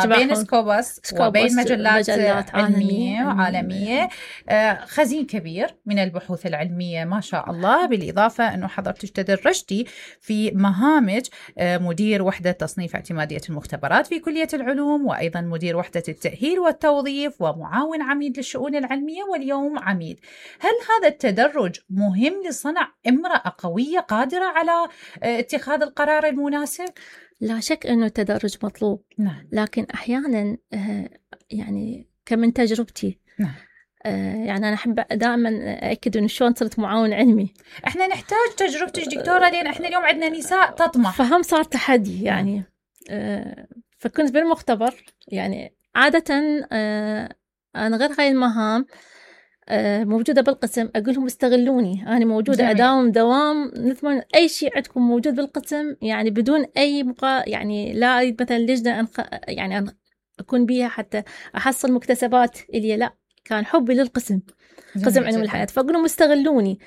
بين سكوبس وبين مجلات علمية وعالمية. خزين كبير من البحوث العلمية ما شاء الله. بالإضافة أنه حضرتك تدرجتي في مهامج مدير وحدة تصنيف اعتمادية المختبرات في كلية العلوم، وأيضا مدير وحدة التأهيل والتوظيف، ومعاون عميد للشؤون العلمية، واليوم عميد. هل هذا التدرج مهم لصنع امرأة قوية قادرة على اتخاذ القرار المناسب؟ لا شك أنه التدرج مطلوب. نعم. لكن أحيانا يعني كمن تجربتي، نعم. يعني أنا أحب دائما أكد أنه شلون صرت معاون علمي. إحنا نحتاج تجربتك دكتورة، لأن إحنا اليوم عندنا نساء تطمح، فهم صار تحدي يعني. فكنت بالمختبر يعني عادة أنا غير هاي المهام موجودة بالقسم، أقول لهم استغلوني، أنا موجودة. جميل. دوام نتمنى أي شيء عندكم موجود بالقسم، يعني بدون أي يعني لا أريد مثلا لجنة يعني أكون بيها حتى أحصل مكتسبات إلي، لا، كان حبي للقسم، قسم علوم الحياة. فأقول لهم استغلوني.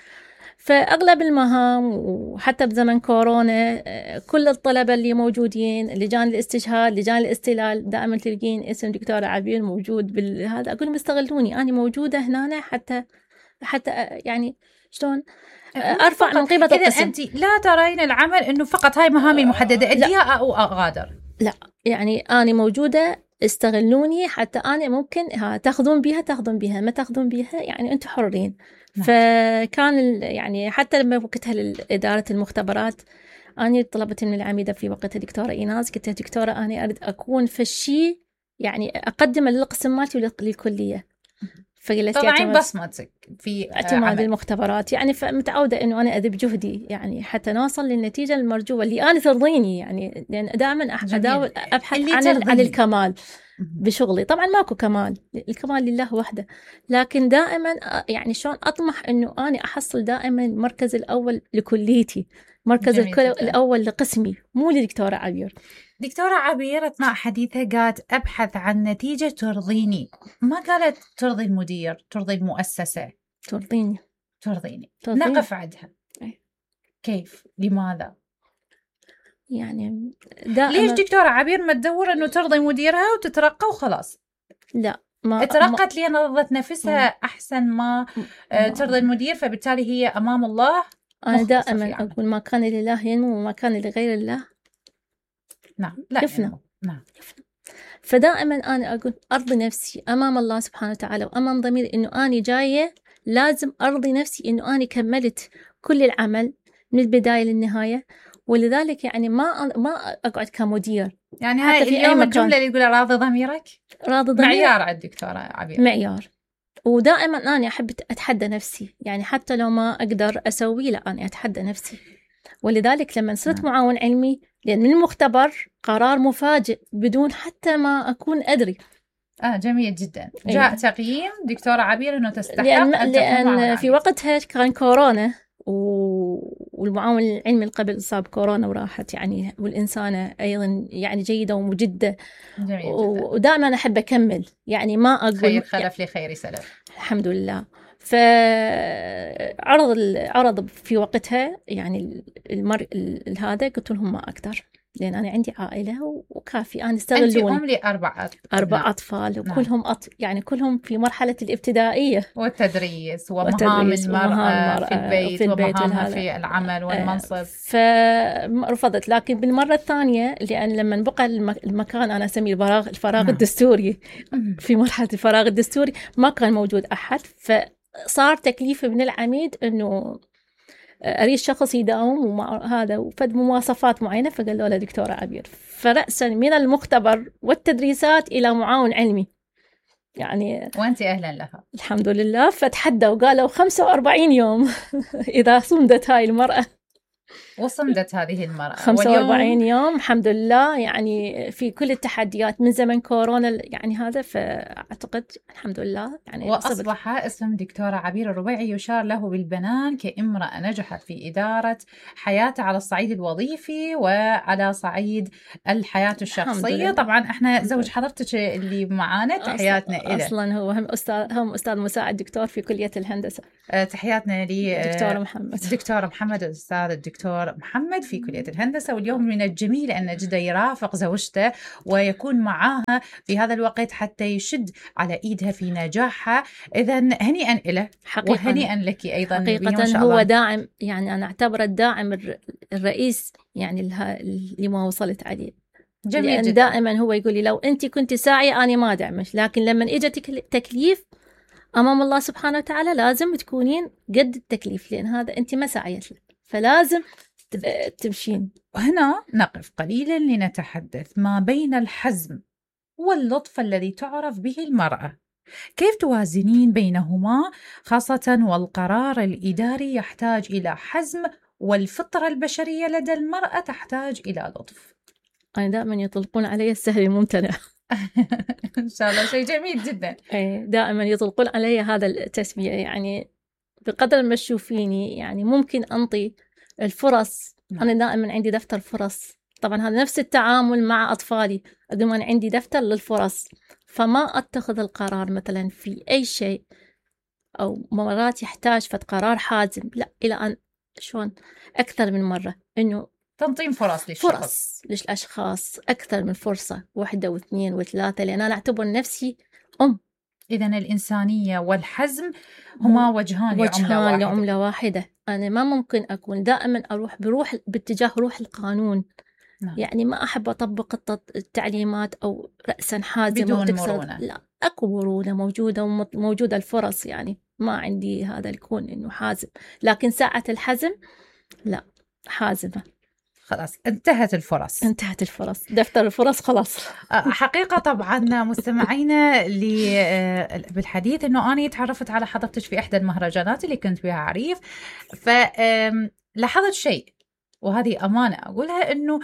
فأغلب المهام، وحتى بزمن كورونا كل الطلبة اللي موجودين، لجان الاستشهاد، لجان الاستلال، دائما تلقين اسم دكتورة عبير موجود بالهذا. أقول لهم استغلوني، أنا موجودة هنا حتى يعني شلون أرفع من قيمة القسم. أنت لا ترين العمل أنه فقط هاي مهامي المحددة أديها أو أغادر، لا، يعني أنا موجودة، استغلوني حتى أنا ممكن تاخذون بيها ما تاخذون بيها، يعني أنتم حرين. فكان يعني حتى لما وقتها لإدارة المختبرات، أنا طلبت من العميدة في وقتها دكتورة إيناس، قلت لها دكتورة أنا أريد أكون في الشيء يعني أقدم للقسم مالتي وللكلية. فقلت طبعا بصمتك في اعتماد المختبرات، يعني فمتعودة إنه أنا أذب جهدي يعني حتى نوصل للنتيجة المرجوة اللي أنا ترضيني، يعني لأن دائما أداول أبحث عن الكمال بشغلي. طبعا ماكو كمال، الكمال لله وحده، لكن دائما يعني شلون أطمح إنه أنا أحصل دائما المركز الأول لكليتي، مركز الأول لقسمي، مو لدكتورة عبير. دكتورة عبير أثناء حديثها قالت أبحث عن نتيجة ترضيني، ما قالت ترضي المدير، ترضي المؤسسة، ترضيني. نقف عندها. كيف؟ لماذا؟ يعني ليش دكتورة عبير ما تدور أنه ترضي مديرها وتترقى وخلاص؟ لا، ترقت لأن رضت نفسها أحسن ما ترضي المدير، فبالتالي هي أمام الله. أنا دائما أقول ما كان لله ينمو وما كان لغير الله نعم لا يفنى. نعم. فدائما أنا أقول أرضي نفسي أمام الله سبحانه وتعالى وأمام ضميري، إنه أنا جاية لازم أرضي نفسي إنه أنا كملت كل العمل من البداية للنهاية. ولذلك يعني ما أقعد كمدير. يعني هاي اليوم الجملة اللي يقولها راضي ضميرك، راضي ضميرك معيار عند دكتورة عبير، معيار. ودائما أنا أحب أتحدى نفسي، يعني حتى لو ما أقدر أسوي، لا أنا أتحدى نفسي. ولذلك لما صرت معاون علمي، لأن من المختبر قرار مفاجئ بدون حتى ما أكون أدري. جميل جدا. جاء تقييم دكتورة عبير أنه تستحق لأن في وقتها كان كورونا، والمعاون العلمي قبل إصابة كورونا وراحت يعني، والإنسانة أيضا يعني جيدة ومجدة. ودائما أحب أكمل، يعني ما أقول خير خلف لخير سلف. الحمد لله. فعرض في وقتها يعني هذا، قلت لهم ما أقدر، لأن أنا عندي عائلة وكافي، أنا استغلوني. أنت أم لأربع أطفال، وكلهم يعني كلهم في مرحلة الابتدائية والتدريس ومهام المرأة في البيت ومهامها في العمل والمنصب. فرفضت. لكن بالمرة الثانية، لأن لما بقى المكان أنا أسميه الفراغ الدستوري، في مرحلة الفراغ الدستوري ما كان موجود أحد، فصار تكليف من العميد أنه أريد شخص يداوم ومع هذا وفد مواصفات معينة. فقالوا له دكتورة عبير، فرأسا من المختبر والتدريسات إلى معاون علمي يعني. وأنت أهلا لها الحمد لله. فتحدوا وقالوا 45 يوم إذا صمدت هاي المرأة. وصمدت هذه المرأة 45 يوم الحمد لله، يعني في كل التحديات من زمن كورونا يعني هذا. فأعتقد الحمد لله يعني وأصبح اسم دكتورة عبير الربيعي يشار له بالبنان كامرأة نجحت في إدارة حياتها على الصعيد الوظيفي وعلى صعيد الحياة الشخصية. طبعا احنا زوج حضرتك اللي معانا تحياتنا إليه، أصلا هو هم أستاذ مساعد دكتور في كلية الهندسة. تحياتنا دكتور محمد الأستاذ الدكتور الدكتور محمد في كلية الهندسة، واليوم من الجميل أن جدا يرافق زوجته ويكون معاها في هذا الوقت حتى يشد على إيدها في نجاحها. إذا هنيئا له وهنيئا لك أيضا. حقيقة هو داعم، يعني أنا أعتبره الداعم الرئيس يعني لما وصلت عليه. جميل جدا. دائما هو يقول لي لو أنت كنت ساعية أنا ما دعمش، لكن لما إجتك تكليف أمام الله سبحانه وتعالى لازم تكونين قد التكليف، لأن هذا أنت ما سعيت له، فلازم تمشين. وهنا نقف قليلا لنتحدث ما بين الحزم واللطف الذي تعرف به المرأة. كيف توازنين بينهما، خاصة والقرار الإداري يحتاج إلى حزم والفطرة البشرية لدى المرأة تحتاج إلى لطف؟ أنا دائما يطلقون علي السهل الممتنع. إن شاء الله شيء جميل جدا. دائما يطلقون علي هذا التسمية، يعني بقدر ما تشوفيني يعني ممكن أنطي الفرص. أنا دائما عندي دفتر فرص، طبعا هذا نفس التعامل مع أطفالي، أنا عندي دفتر للفرص، فما أتخذ القرار مثلا في أي شيء أو مرات يحتاج فت قرار حازم، لا، إلى أن شلون أكثر من مرة إنه تنظيم فرص للأشخاص أكثر من فرصة، 1 و2 و3، لأن أنا أعتبر نفسي إذن الإنسانية والحزم هما وجهان لعملة واحدة. أنا ما ممكن أكون دائما بروح باتجاه روح القانون. يعني ما أحب أطبق التعليمات أو رأسا حازمة بدون مرونة. لا، أكو مرونة موجودة الفرص، يعني ما عندي هذا الكون إنه حازم، لكن ساعة الحزم لا، حازمة. خلاص انتهت الفرص، دفتر الفرص خلاص. حقيقة طبعا مستمعينا بالحديث انه انا تعرفت على حضرتك في احدى المهرجانات اللي كنت بها عريف، فلاحظت شيء وهذه أمانة أقولها، أنه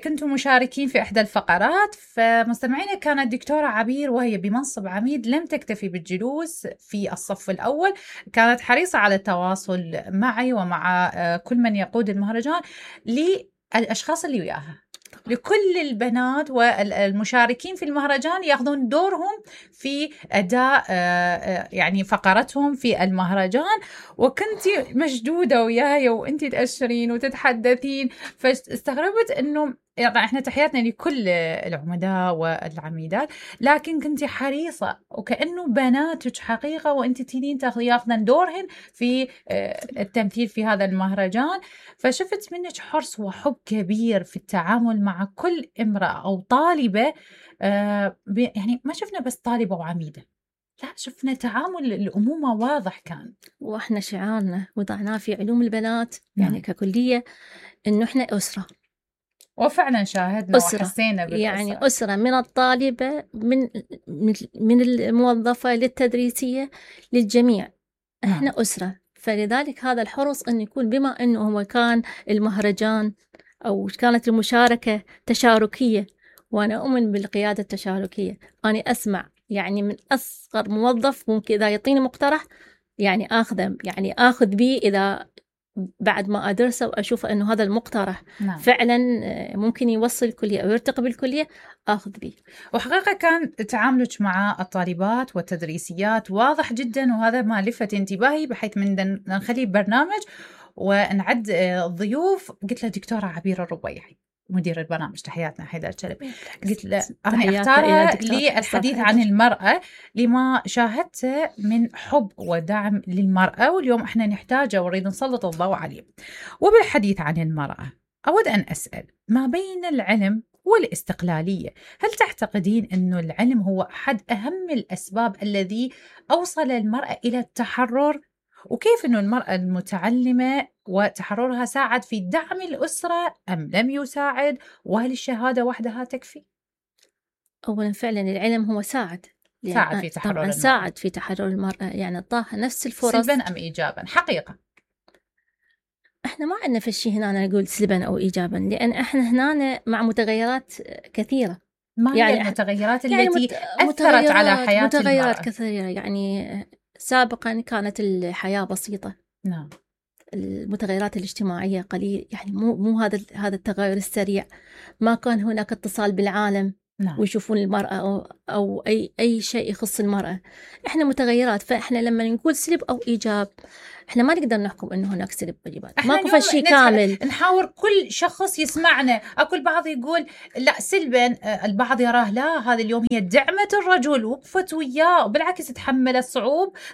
كنتم مشاركين في إحدى الفقرات، فمستمعينا كانت دكتورة عبير وهي بمنصب عميد لم تكتفي بالجلوس في الصف الأول، كانت حريصة على التواصل معي ومع كل من يقود المهرجان للأشخاص اللي وياها، لكل البنات والمشاركين في المهرجان ياخذون دورهم في أداء يعني فقرتهم في المهرجان، وكنتي مشدودة وياي وانتي تأشرين وتتحدثين، فاستغربت انه يعني احنا تحياتنا لكل العمداء والعميدات، لكن كنتي حريصة وكأنه بناتك حقيقة وانتي تينين ياخذن دورهن في التمثيل في هذا المهرجان. فشفت منك حرص وحب كبير في التعامل مع كل امرأة أو طالبة، يعني ما شفنا بس طالبة وعميدة، لا، شفنا تعامل الأمومة واضح كان. وإحنا شعارنا وضعناه في علوم البنات يعني ككلية إنه إحنا أسرة، وفعلا شاهدنا وحسينا بالأسرة، يعني أسرة من الطالبة من الموظفة للتدريسية للجميع، إحنا أسرة. فلذلك هذا الحرص أن يكون، بما أنه هو كان المهرجان أو كانت المشاركة تشاركية، وأنا أؤمن بالقيادة التشاركية، أنا أسمع يعني من أصغر موظف ممكن إذا يعطيني مقترح يعني آخذه، يعني آخذ به إذا بعد ما أدرسه وأشوف أنه هذا المقترح فعلا ممكن يوصل الكلية أو يرتقي بالكلية، أخذ به. وحقيقة كان تعاملك مع الطالبات والتدريسيات واضح جدا، وهذا ما لفت انتباهي، بحيث من نخلي برنامج ونعد الضيوف قلت له دكتورة عبير الربيعي مدير البرنامج، تحياتنا حيدر شلبي، قلت له أنا أختارها للحديث عن المرأة لما شاهدته من حب ودعم للمرأة، واليوم احنا نحتاجه ونريد نسلط الضوء عليه. وبالحديث عن المرأة أود أن أسأل ما بين العلم والاستقلالية، هل تعتقدين أنه العلم هو أحد أهم الأسباب الذي أوصل المرأة إلى التحرر؟ وكيف أنه المرأة المتعلمة وتحررها ساعد في دعم الأسرة أم لم يساعد؟ وهل الشهادة وحدها تكفي؟ أولا فعلا العلم هو ساعد في تحرر المرأة، ساعد في تحرر المرأة، يعني أعطاها نفس الفرص. سلبا أم إيجابا؟ حقيقة احنا ما عندنا في الشيء هنا نقول سلبا أو إيجابا، لأن احنا هنا مع متغيرات كثيرة. ما يعني هي المتغيرات التي أثرت على حياة متغيرات المرأة؟ كثيرة، يعني سابقا كانت الحياة بسيطة، نعم، المتغيرات الاجتماعية قليل، يعني مو هذا التغير السريع، ما كان هناك اتصال بالعالم. نعم. ويشوفون المرأة أو أي شيء يخص المرأة، إحنا متغيرات. فإحنا لما نقول سلب أو إيجاب إحنا ما نقدر نحكم إنه هناك سلب وإيجاب، ماكو شيء كامل. نحاور كل شخص يسمعنا. أكو البعض يقول لا سلبا، البعض يراه لا، هذا اليوم هي دعمت الرجل، وقفت وياه، وبالعكس تحملت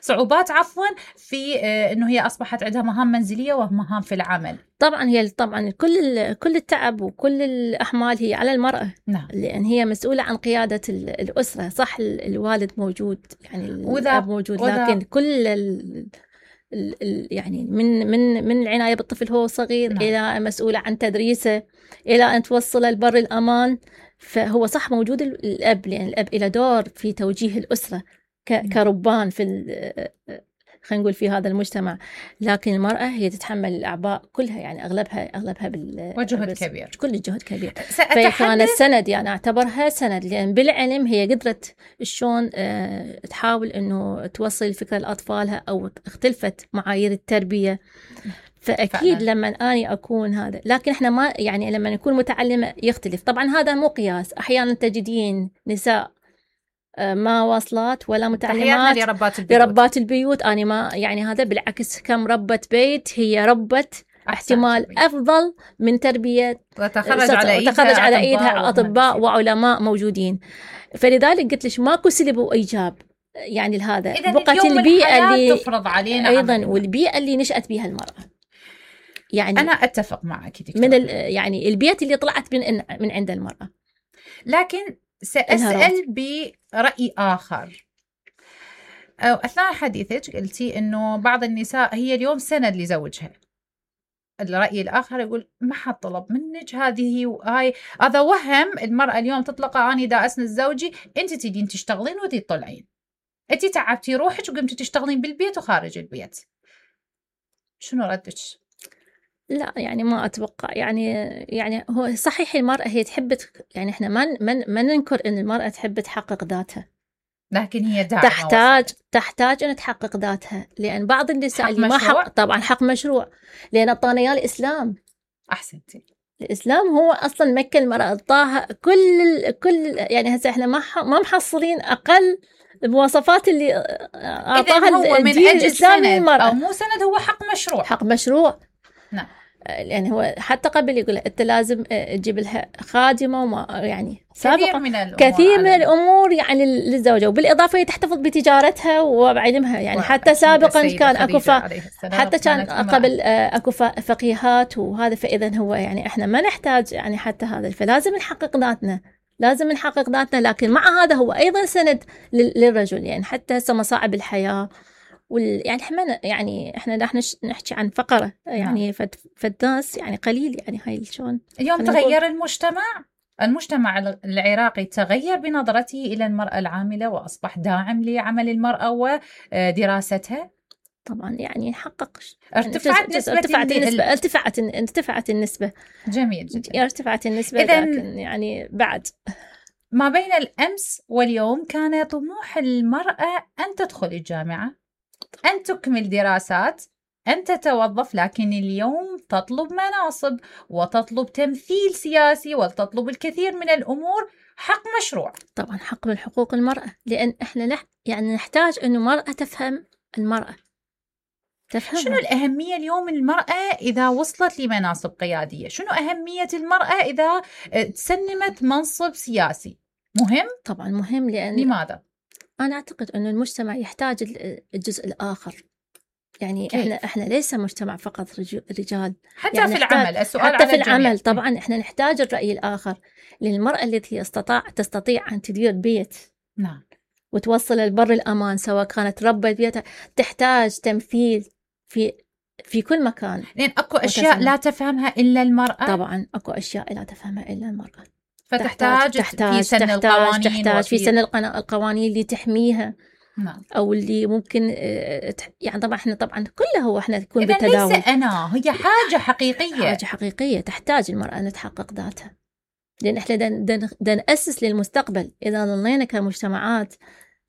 صعوبات في إنه هي أصبحت عندها مهام منزلية ومهام في العمل. طبعا كل التعب وكل الأحمال هي على المرأة. نعم. لأن هي مسؤولة عن قيادة الأسرة. صح الوالد موجود، يعني الأب موجود، لكن كل يعني من العناية بالطفل هو صغير، نعم. إلى مسؤولة عن تدريسه، إلى أن توصله لبر الأمان. فهو صح موجود الأب، لأن الأب له دور في توجيه الأسرة كربان خلينا نقول في هذا المجتمع. لكن المرأة هي تتحمل الأعباء كلها، يعني أغلبها وجهد كبير، كل الجهد كبير. فكانت سند، يعني أعتبرها سند، لأن بالعلم هي قدرت شلون تحاول إنه توصل الفكرة لأطفالها، أو اختلفت معايير التربية. فأكيد لما أنا أكون هذا، لكن إحنا ما يعني لما نكون متعلمة يختلف. طبعا هذا مو قياس، أحيانا تجدين نساء ما واصلات ولا متعلمات لربات البيوت. أنا ما يعني هذا بالعكس، كم ربة بيت هي ربة احتمال أفضل من تربية وتخرج على إيدها أطباء وعلماء موجودين. فلذلك قلت لك ماكو سلب وإيجاب يعني لهذا. بقت البيئة اللي تفرض علينا أيضا والبيئة اللي نشأت بها المرأة. يعني أنا أتفق معك من يعني البيئة اللي طلعت من عند المرأة. لكن سأسأل برأي آخر. أثناء حديثك قلتي إنه بعض النساء هي اليوم سند لزوجها. الرأي الآخر يقول ما حد طلب منك هذه وهاي. هذا وهم المرأة اليوم تطلق أنا دا أسند زوجي، أنت تدين تشتغلين ودي تطلعين، أنت تعبتي روحك وقمتي تشتغلين بالبيت وخارج البيت. شنو ردك؟ لا يعني ما أتوقع، يعني هو صحيح المرأة هي تحب، يعني إحنا ما ننكر إن المرأة تحب تحقق ذاتها، لكن هي تحتاج أن تحقق ذاتها. لأن بعض النساء اللي ما حق، طبعا حق مشروع، لأن أعطانا إياه الإسلام. أحسنتي. الإسلام هو أصلا مكن المرأة، أعطاها كل يعني هسه إحنا ما محصلين أقل المواصفات اللي أعطاها الدين الإسلامي للمرأة. أو مو سند، هو حق مشروع. نعم. يعني هو حتى قبل يقول أنت لازم تجيب لها خادمة، وما يعني سابقا كثير من الأمور يعني للزوجة، وبالإضافة تحتفظ بتجارتها وعلمها. يعني حتى سابقا كان أكو حتى كان قبل أكو فقيهات وهذا. فإذا هو يعني إحنا ما نحتاج يعني حتى هذا، فلازم نحقق ذاتنا. لكن مع هذا هو أيضا سند للرجل. يعني حتى مصاعب الحياة يعني احنا نحكي عن فقرة يعني فالناس يعني قليل. يعني هاي شلون اليوم تغير المجتمع العراقي تغير بنظرته إلى المرأة العاملة، وأصبح داعم لعمل المرأة ودراستها. طبعا يعني حقق ارتفعت النسبة. جميل جدا. ارتفعت النسبة. لكن يعني بعد ما بين الأمس واليوم كان طموح المرأة أن تدخل الجامعة، أن تكمل دراسات، أن تتوظف. لكن اليوم تطلب مناصب وتطلب تمثيل سياسي وتطلب الكثير من الأمور. حق مشروع. طبعا حق من حقوق المرأة، لأن إحنا يعني نحتاج إنه مرأة تفهم المرأة. شنو الأهمية اليوم المرأة إذا وصلت لمناصب قيادية؟ شنو أهمية المرأة إذا تسنمت منصب سياسي؟ مهم؟ طبعا مهم. لأن لماذا؟ أنا أعتقد أن المجتمع يحتاج الجزء الآخر. يعني كيف؟ إحنا ليس مجتمع فقط رجال. حتى يعني في العمل. السؤال حتى على في العمل طبعا إحنا نحتاج الرأي الآخر. للمرأة التي تستطيع أن تدير بيت، نعم، وتوصل البر الأمان، سواء كانت ربة بيتها، تحتاج تمثيل في كل مكان. لأن أكو أشياء لا تفهمها إلا المرأة. طبعا أكو أشياء لا تفهمها إلا المرأة. فتحتاج في سن القوانين، تحتاج في سن القوانين اللي تحميها. نعم. أو اللي ممكن يعني طبعا إحنا كله هو إحنا نكون بالتداول. ليس هي حاجة حقيقية. تحتاج المرأة أن تحقق ذاتها، لأن إحنا نأسس للمستقبل. إذا ظلينا كمجتمعات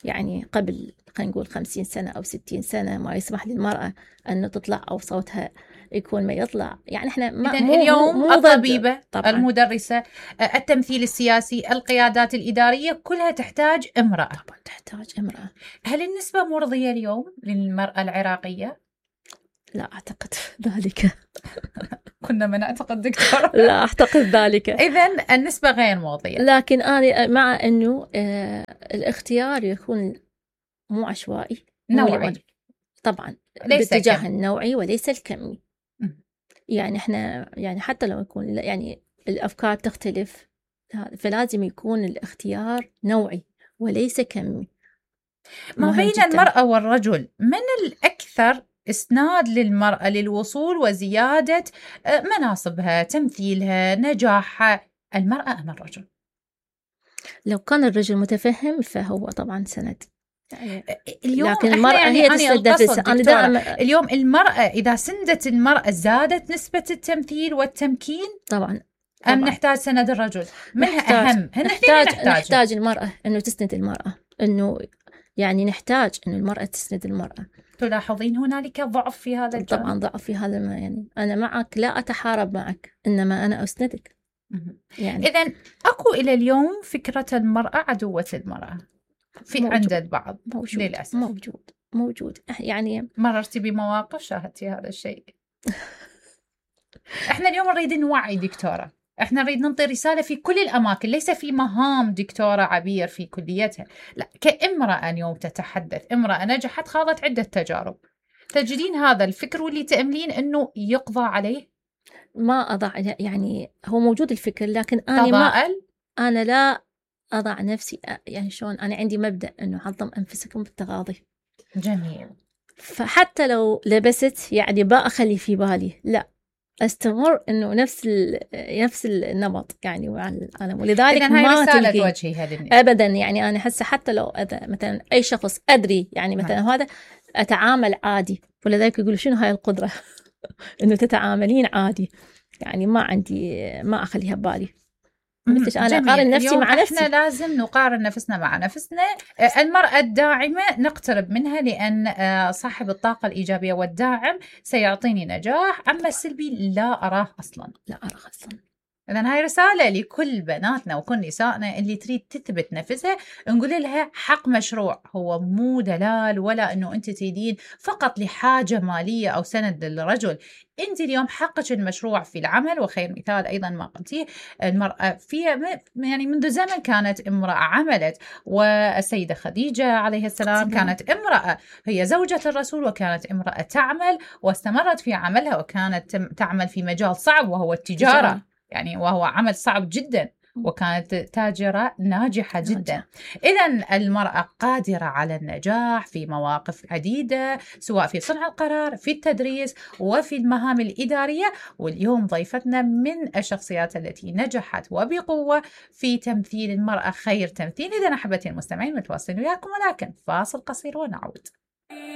يعني قبل خلينا نقول 50 سنة أو 60 سنة ما يسمح للمرأة أن تطلع أو صوتها يكون ما يطلع. يعني إحنا اليوم الطبيبة، المدرسة، التمثيل السياسي، القيادات الإدارية كلها تحتاج امرأة. طبعا تحتاج امرأة. هل النسبة مرضية اليوم للمرأة العراقية؟ لا أعتقد ذلك. كنا ما نعتقد دكتورة. لا أعتقد ذلك. إذن النسبة غير مرضية. لكن أنا مع أنه الاختيار يكون مو عشوائي، نوعي طبعا، باتجاه النوعي وليس الكمي. يعني احنا يعني حتى لو يكون يعني الأفكار تختلف، فلازم يكون الاختيار نوعي وليس كمي. ما بين المرأة والرجل من الأكثر إسناد للمرأة للوصول وزيادة مناصبها، تمثيلها، نجاحها، المرأة أم الرجل؟ لو كان الرجل متفهم فهو طبعا سند. يعني اليوم لكن المرأة هي تسند نفسها. اليوم المرأة إذا سندت المرأة زادت نسبة التمثيل والتمكين طبعا. أم نحتاج سند الرجل؟ منها أهم. نحتاج المرأة إنه تسند المرأة، إنه يعني نحتاج إنه المرأة تسند المرأة. تلاحظين هنالك ضعف في هذا الجانب؟ طبعا ضعف في هذا. ما يعني أنا معك، لا أتحارب معك، إنما أنا أسندك. يعني إذن أكو إلى اليوم فكرة المرأة عدوة المرأة عند البعض. موجود. للأسف موجود. يعني مررتي بمواقف شاهدتي هذا الشيء؟ احنا اليوم نريد نوعي دكتورة، احنا نريد ننطي رسالة في كل الأماكن، ليس في مهام دكتورة عبير في كليتها، لا، كامرأة اليوم تتحدث، امرأة نجحت، خاضت عدة تجارب. تجدين هذا الفكر واللي تأملين أنه يقضى عليه؟ ما أضع، يعني هو موجود الفكر، لكن أنا لا أضع نفسي، يعني شلون، أنا عندي مبدأ أنه عظم أنفسكم بالتغاضي. جميل. فحتى لو لبست يعني بأخلي في بالي، لا، استمر انه نفس النمط يعني مع العالم. ولذلك ما رسالة وجهي هذه ابدا. يعني انا هسه حتى لو مثلا اي شخص ادري يعني مثلا هذا اتعامل عادي، ولذلك يقولوا شنو هاي القدرة انه تتعاملين عادي. يعني ما اخليها ببالي. أنا أقارن نفسي مع نفسي. إحنا لازم نقارن نفسنا مع نفسنا. المرأة الداعمة نقترب منها، لأن صاحب الطاقة الإيجابية والداعم سيعطيني نجاح. أما السلبي لا أراه أصلا. إذن هاي رسالة لكل بناتنا وكل نسائنا اللي تريد تثبت نفسها، نقول لها حق مشروع، هو مو دلال ولا أنه أنت تريدين فقط لحاجة مالية أو سند للرجل. أنت اليوم حقك المشروع في العمل. وخير مثال أيضا ما قلتيه، المرأة فيها يعني منذ زمن كانت امرأة عملت، والسيدة خديجة عليه السلام كانت امرأة، هي زوجة الرسول، وكانت امرأة تعمل واستمرت في عملها، وكانت تعمل في مجال صعب وهو التجارة. يعني وهو عمل صعب جدا، وكانت تاجرة ناجحة جدا. إذن المرأة قادرة على النجاح في مواقف عديدة، سواء في صنع القرار، في التدريس، وفي المهام الإدارية. واليوم ضيفتنا من الشخصيات التي نجحت وبقوة في تمثيل المرأة خير تمثيل. إذن أحبتي المستمعين، متواصلين وياكم، ولكن فاصل قصير ونعود.